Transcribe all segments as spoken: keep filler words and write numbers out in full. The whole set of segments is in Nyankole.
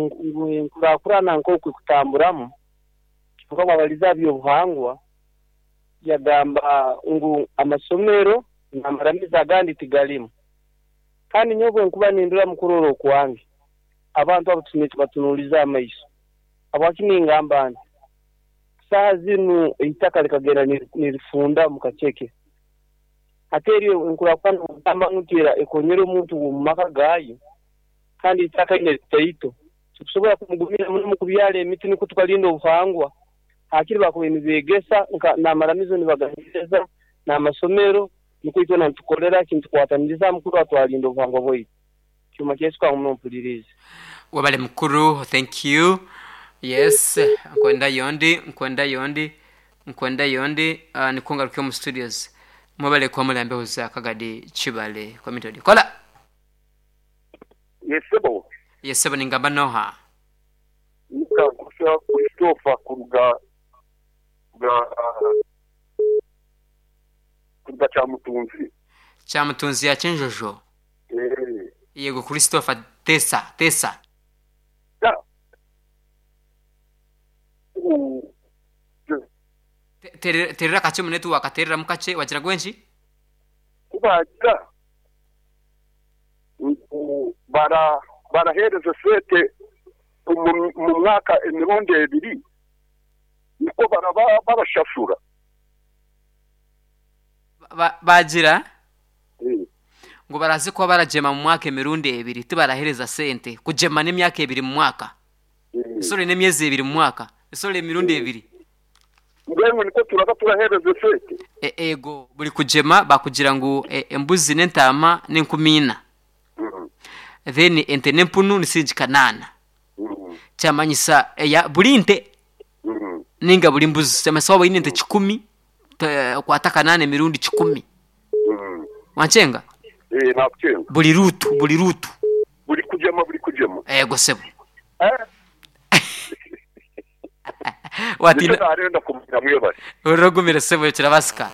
Enkurakurana nk'oku kutamburamu, kyonka bwabaliza aha by'obuhangwa, yagamba ngu amasomero n'amaramizo agandi tigarimu. Kandi nyowe bwe nkuba nindora mu kurora okwange, abantu abo tusemeriire tubatunuulize amaiso. Habwaki ningamba nti saaha zinu eitaka likagenda nirifunda mu kaceke. Hati eryo enkurakurana ogamba nti ekonyera omuntu omu maka gaayo, kandi eitaka linu litaito, tikusobora kumugumira muno mu kubyara emiti nukwo tukalinda obuhangwa. Hakiri bakubaire nibeegesa n'amaramizo nibagahereza n'amasomero, nukwo itwena nitukolera ki, nitukwataniriza hamu kurora twalinda obuhangwa bwaitu. Kyuma kyaisu kangume mpuliriize. Wabale mukuru, thank you. Yes, nkwenda yondi, nkwenda yondi, nkwenda yondi, uh, nikungaruka omu studios. Mwebale kuba muri mbeho za Kagadi Kibale Community Radio. Kola. Yes, sebo. Yes, sebo, ningamba noha? Nikakusha Christopher kuruga kuruga kuruga Kyamutunzi. Kyamutunzi ya Kyenjojo. Eh. Yego, Christopher, tesa, tesa. Ya. U- Te- Terera kache mu network, terera mu kache wagira gwenki? Kubagira ngu bara barahereza sente mu mu mwaka emirundi ebiri, niko baraba barashashura. Ba- Bagira Eh. ngo baraze kuba baragema mu mwaka emirundi ebiri, tibarahereza sente kugema n'emyaka ebiri mu mwaka. Eh. Sorry, n'emyezi ebiri mu mwaka. Sorry, emirundi ebiri. Mbwenu niko turaba turahereza sente. E, ego buri kugema bakugira ngu e, embuzi n'entama n'enkumi ina. Mm. Then ente n'empunu ni siringi kanaana. Mm. Kyamanyisa eya buri nte Mm. ninga buri mbuzi, kyamanyisa waba oyine ente kikumi, te- okwata kanaana emirundi kikumi. Mm. Wankyenga? Eh, nakucenga. Buri rutu, buri rutu. Buri kugema, buri kugema. Ego sebo. Eh? Watina. Nicyo narenda kumenya, mwebale. Uragumire sebo, kirabasika.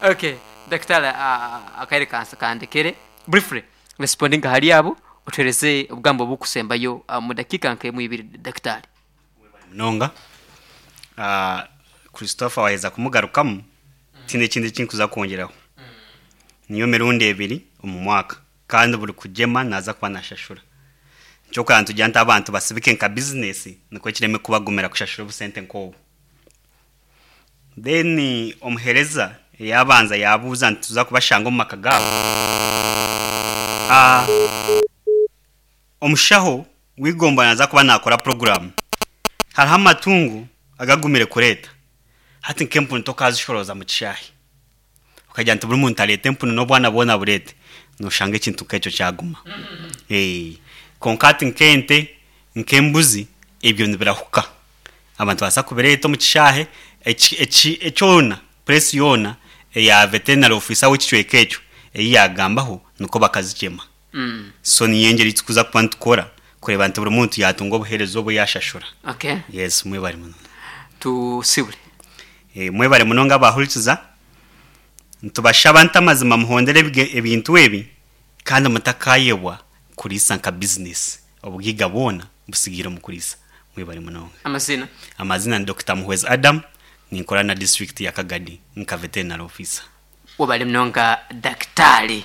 Okay, daktari, uh, akaire kansa kandekere briefly responding hali abo otereze obugambo bukusembayo uh, mu dakika nke mu ibiri, daktari. Munonga. Ah, Christopher waheza kumugarukamu, tine ekindi kinkuza kwongeraho. Niyo mirundi ebiri omu mwaka, kandi buri kugema naza kuba nashashura. Kyokora nitugira nti abantu basibike nka bizinesi, nikwo kireme kubagumira kushashura obusente nk'obu. Then omuhereza yabanza yabuuza nti tuza kubashanga omu maka gaabo. Ah, omushaho w'igomba naza kuba nakora poroguramu. Hariho amatungo agagumire kureeta. Hati nk'empunu tokazishoroza mu kishaayi, okagira nti buri muntu areete empunu n'obwana bwona bureete, noshanga ekintu nk'ekyo kyaguma. Eh, konka hati nk'ente, nk'embuzi, ebyo nibirahuka, abantu baasa kubireeta omu kishaahe. eki- eki- ekyona puresi yoona eya veterinary officer w'ekicweka ekyo ei yagambaho, niko bakazigyema. mm. So niyo engeri tukuza kuba nitukora kureba nti buri muntu yatunga obuheereza obu yashashura. Okay. Yes, mwebare munonga. Tusibure. Eh, mwebare munonga abahurikiza. Nitubashaba nti amazima muhondere ebige- ebintu ebi, kandi mutakayebwa kuriisa nka bizinesi. Obugiga bwona busigiire omu kuriisa. Mwebare munonga. Amazina? Amazina ni Doctor Muhwezi Adam, ninkora na district ya Kagadi nka veterinary officer. Wabale munonga, daktari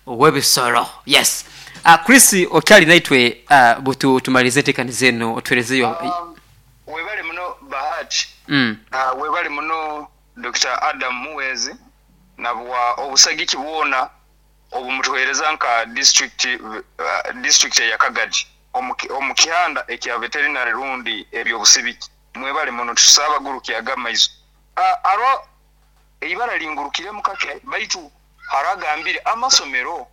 w'ebisoro. Yes, uh, Chris okyali naitwe, uh, butu tumalize enteekaniza zeno otuherezeyo. Um, webale muno, Bahati. mm. uh, webale muno Doctor Adam Muwezi nabwa obusagiki bwona obumutuhereza nka district uh, district ya Kagadi omu kihanda ekya veterinary rundi ebyobusibiki. Mwebale muno, tusaba gurukyaga amaiso. uh, aro eibara lingurukire mukake, baitu haragambire amasomero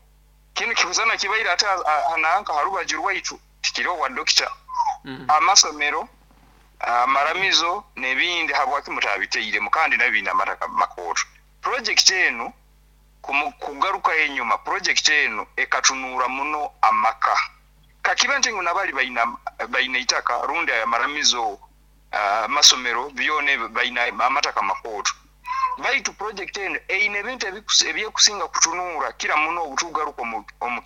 kinu kihuzana kibaire ate hananka harubaju rwaitu tikiro wa dokita. Mm. Amasomero, amaramizo n'ebindi, habwaki mutabiteiremu kandi nabyo biine amataka makooto? Project enu kumu- kugaruka enyuma, project enu ekatunuura muno amaka. Kakiba nti ngu nabali baina baina itaka rundi amaramizo, amasomero byona ebyo baina amataka makooto. Baitu project eno eine ebintu ebikusinga kutunuura kira muno obutugaruka omu, omu